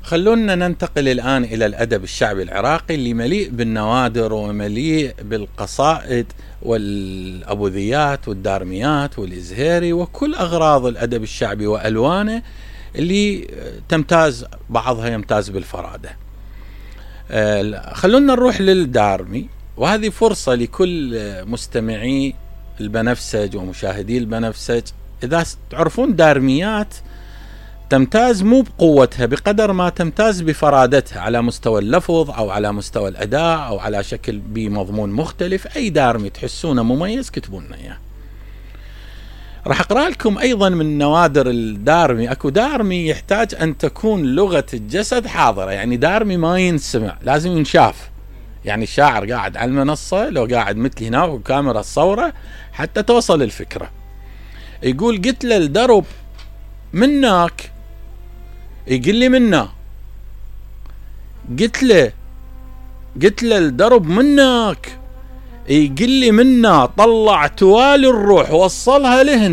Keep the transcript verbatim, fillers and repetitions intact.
خلونا ننتقل الآن إلى الأدب الشعبي العراقي اللي مليء بالنوادر ومليء بالقصائد والأبوذيات والدارميات والإزهيري وكل أغراض الأدب الشعبي وألوانه اللي تمتاز، بعضها يمتاز بالفرادة. خلونا نروح للدارمي، وهذه فرصة لكل مستمعي البنفسج ومشاهدي البنفسج. إذا تعرفون دارميات تمتاز مو بقوتها بقدر ما تمتاز بفرادتها على مستوى اللفظ أو على مستوى الأداء أو على شكل بمضمون مختلف. أي دارمي تحسونه مميز كتبوا لنا إياه. راح أقرأ لكم أيضا من نوادر الدارمي. أكو دارمي يحتاج أن تكون لغة الجسد حاضرة، يعني دارمي ما ينسمع، لازم ينشاف. يعني الشاعر قاعد على المنصة، لو قاعد مثلي هنا وكاميرا الصورة حتى توصل الفكرة. يقول قلت له الدرب منك، يقول لي منا. قلت له قلت له الدرب منك، يقول لي منا. طلع توالي الروح وصلها لهن.